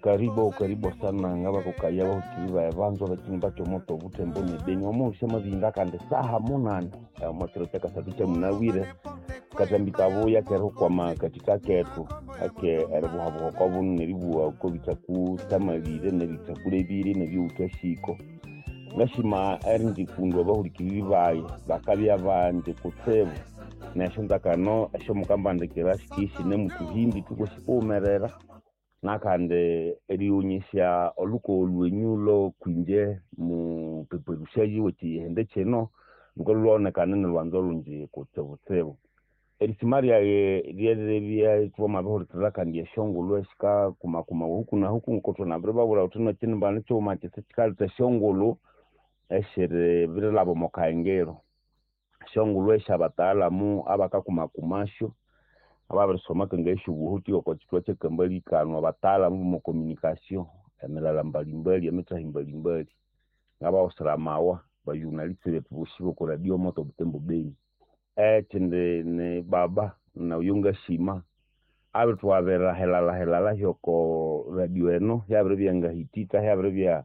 Karibu karibu sana ngabakokaya bahukiri bae banzwa bakini bakyomoto obuthembo nebeni omuhusha amabinga kandi saha munane omwakiro kyakasathu kyamunawire katambi kabuya kerikwama kathika kethu ake eribuhabuha okwabuno neribuha okobithaku thamalire nebithakulebire nebyowuthasiko. Ngashima erindikundwa abahulikiriri bayi bakabya bandi kutsibu nesyonzakano esyomukambandikira sikisinemu thuhimbi thukwasi kuwumerera. Nakandi erighonyesya olhukogo lwenyu lwokwinje mupeperusyaji wekyihindi kino lhukalhwa ilhwawonekana inilwanzo lungi kutsibutsibu. Erisima ryayi ryeribya ithwamabirihulikirira kandi esyongulhu esikakumakumawa huku na huku ngoko thunabiribabwira thuthi nekyinimba nikighuma kyisa kyikaletha esyongulhu esiribirilhaba omo kahengero. Esyongulhu esyabataalamu abakakumakumasyo ababirisoma akangaya esyobuhuti oko kyithwa kyakambali kano abataalamu bomo communication emilala mbalimbali emithahi mbalimbali. Ngabahusira amawa ba journaliste bethu bosi boko radio moto Butembo Beni. Ekyindi ni baba noyo ngasima abirithwabira hilala hilala hyoko radio eno hyabiribya ngahitika hyabiribya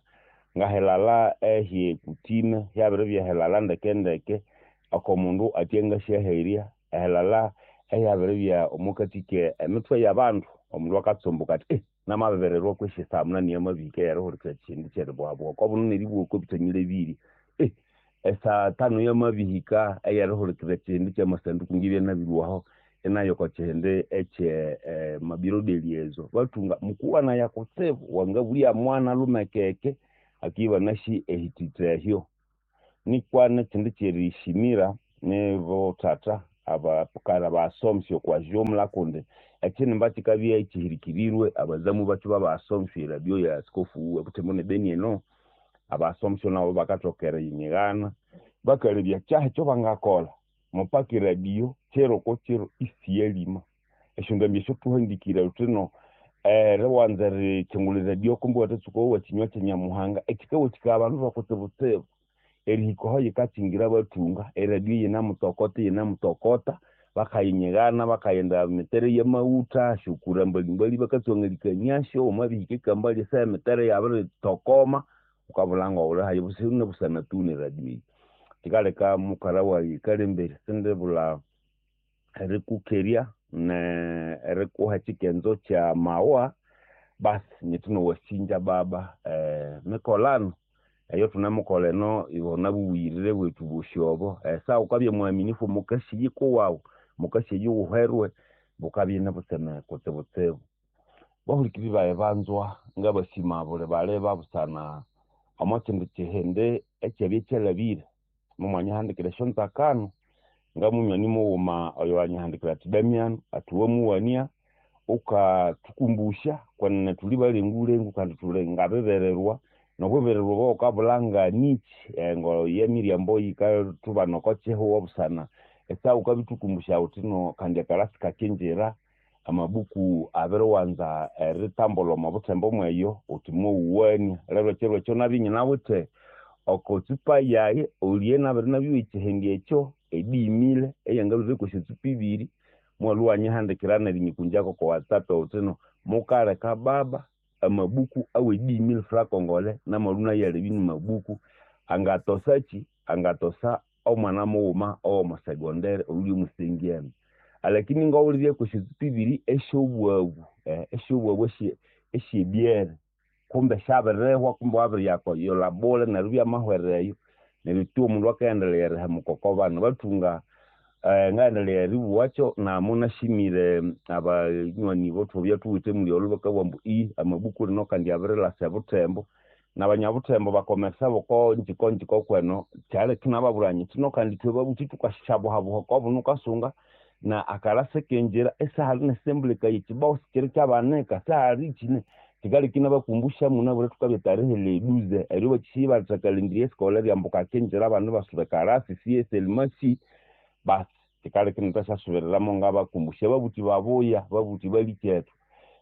ngahilala ehyekutime hyabiribya hilala ndeke ndeke oko mundu atyangasyaherya ehilala ehyabiribya omwakathi ke emithwe yabandu. Omundu akatsumbuka athi namabibererwa kwesi esaha munani yamabihika eyerihulikirira ekyihindi kyeribuhabuha okwabuno neribuha okobithanyilebire. Esaa tanu yamabihika eyerihulikirira ekyihindi kyamasanduku ngibya nabirilhwaho inaya oko kyihindi ekye mabiro de liaison. Bathunga mukuwanaya kutsibu wangabulya mwana lumekeke akibya iwanasi ehithitha ehyo. Nikwa nekyindi kyerisimira nibothatha abakara basomesya okwa jumla kundi ekyinimba kyikabya ikyihirikirirwe abazamu bakyo babasomesya eradio ya askofu webuthembo nebeni eno. Abasomesya nabo bakathoka eriyinyigana bakalebya kyahi ekyobangakolha mupaka eradio kiro oko kiro isiyalima. Esyondambi esyo thuhandikire thuthino eriwanza erikyingulha eradio kumbe iwathatsuka owa kyinywa kyanyamuhanga ekyikawathikaya abandu bakutsibutsibu erihika aho yikakyingira bathunga eradio yinamutokota yinamutokota bakayinyigana bakaghenda emitere yamaghutha esyokura mbalimbali bakatswangalikaniasyo wamabihika ekambali esaha emitere yabiritokoma wukabulha ngawulihayi busana busana tu neradio eyi. Kyikaleka mukalha wayi Kalemberi sindibulha erikukerya nerikuha ekyikenzo kyamawa basi nyithi nowasinja baba mikolano eyathunemukolha eno ibona bubughirire bwethu bosi obo. Esaha wukabya mwaminifu omwakasi yikuwawu omwakasi eyawuherwe bukabya inibutseme kutsibutsibu. Bahulikiriri bayi banzwa ngabasima buli baliba busana omwakyindi kyihindi ekyabya kyalhabire momwanyihandikira esyonzakano ngamunywani mughuma oyo wanyihandikira athi Damiano athi wamuwania wukathukumbusya kwenene thuli balengulengu kandi thuli ngabibererwa nobubererwa obo wukabulha nganikyi ngo yemiryambo yikathubana oko kyihugho busana esaha wukabithukumbusya wuthino kandi akalasi kakyingira amabuku abiriwanza eritambulha omo buthembo mweyo wuthi mwowuwania. Lero ekyiro ekyo nabya inyinawithe oko tsupa yayi olye nabiri nabyowa ekyihindi ekyo edimile eyangalhwire kwesya tsupa ibiri mwalhwa iwanyihandikira nerinyikunjako oko whatsapp wuthino mukaleka baba amabuku awe 10000 francs congolais namalhwa inayalebya nimabuku angatosakyi angatosa omwana mughuma owomo secondary oyulye omusengyani. Alakini ngawulirye kwesya tsupa ibiri esyobwabu esyobwabu esyebyere kumbe syabirihwa kumbe wabiriyayola bule neryo ibyamahwera eyo neryo tu omundu akaghendelaya erihemuka oko bana. Bathunga ngaghendelaya eribuwakyo namunasimire abanywani bothwabya thuwithe muli olho bakabugha ambu amabuku lino kandi abirilhasa ebuthembo nabanyabuthembo bakomeresa boko njiko njiko kweno kyaleka inababwira nyithi no kandi ithwe babuthi thukasyabuhabuha okwabuno wukasunga na akalasi kingira isihali nesembuleka yekyibao sikyiri kyabanika sihali kyine. Kyikaleka inabakumbusya munabwire thukabya tarehe le douze eryo bakisya ibaletha calendrier scolaire ambu kakyingira abana ibasuba ekalasi siye selimasi basi kyikaleka inithasyasubiriramu ngabakumbusya babuthi babuya babuthi balikyethu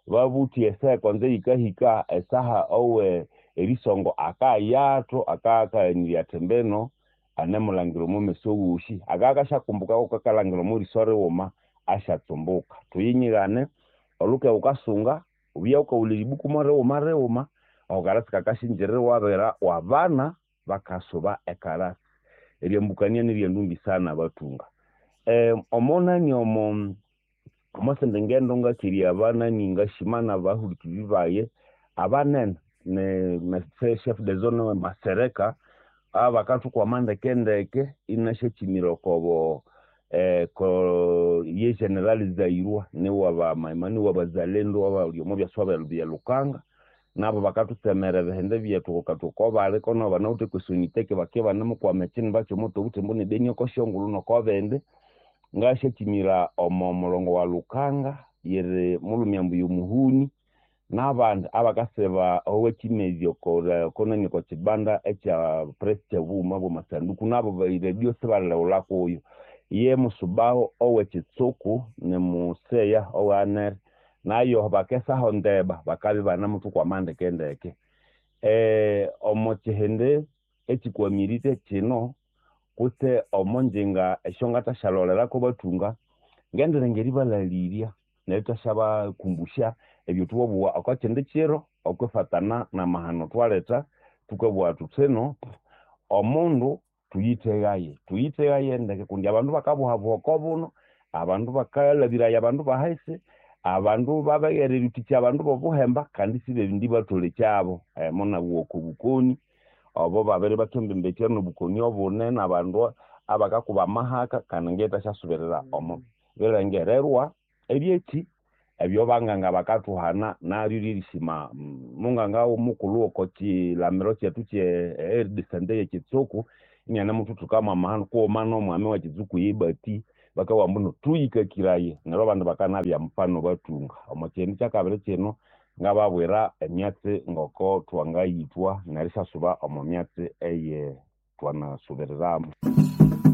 babuthi esaha ekonzo yikahika esaha owe erisongo akayathu akakaghanirya athi mbino anemulangira omo meso wosi akakasyakumbuka wukakalhangira omo riso righuma asyatsumbuka. Thuyinyigane olhuke wukasunga. Ubya wukawulha eribuku mo righuma righuma, ako karasi kakashinjirira iwabwira wabana bakasuba ekarasi. Eryambukania niryendumbi sana bathunga. Omo nani omo omosindi ngendo ngakirya abanani ngashima nabahulikiriri bayi abanene ni chef de zone Masereka abakathukwama ndeke ndeke inasyakyimira okobo ye general Zairwa niwa niwabazalendo abali omo byaswa bya Lukanga nabo bakathutsemera ebihindi byethu oko bali kono banawithe kwesoniteke bakibya ibanemukwama ekyinimba kyomuti obuthembo nebeni oko syongulhu noko bindi. Ngasyakyimira omo mulongo wa Lukanga yiri mulhumi ambuya Muhuni nabandi abakasiba owekimezi okonani oko kibanda ekya press kyabughuma bwamasanduku nabo eredio sibalilhighulha kuyo. Ye musubaho owekitsuku nimuseya owanere nayo bakesaho ndeba bakabya ibanemuthukwama ndeke ndeke. Omo kihindi ekikwamirire kino kutse omo ngyinga esyongathasyalholerako bathunga, ngendilenga eribalhalirya nerithwasyabakumbusya ebyathwabugha oko kindi kiro okwifatana namahano thwaletha thukabugha thuthino omundu thuyithegaye, thuyithegaye ndeke kundi abandu bakabuhabuha oko buno, abandu bakalhabiraya abandu bahisi, abandu babeghere erithikya abandu bobuhemba kandi isibindi batholekyabo. Munabugha oko bukoni obo babiribathembembethya nobukoni obunene abandu abakakuba amahaka kandi ngithasyasubirira omo birengererwa ebyeki ebyo banganga bakathuhana naryo lyerishima munganga mukulhu oko kilamiro kyethu kye aire de sante yekitsuku inianemuthuthuka mwamahano kughuma nomwami wekitsuku yebati bakabugha ambu thuyikakiraye neryo abandi bakanabya mufano bathunga. Omo kihindi kyakabiri kino ngababwira emyatsi ngoko thwangayithwa nerisyasuba omo myatsi eye thwanasubiriramu.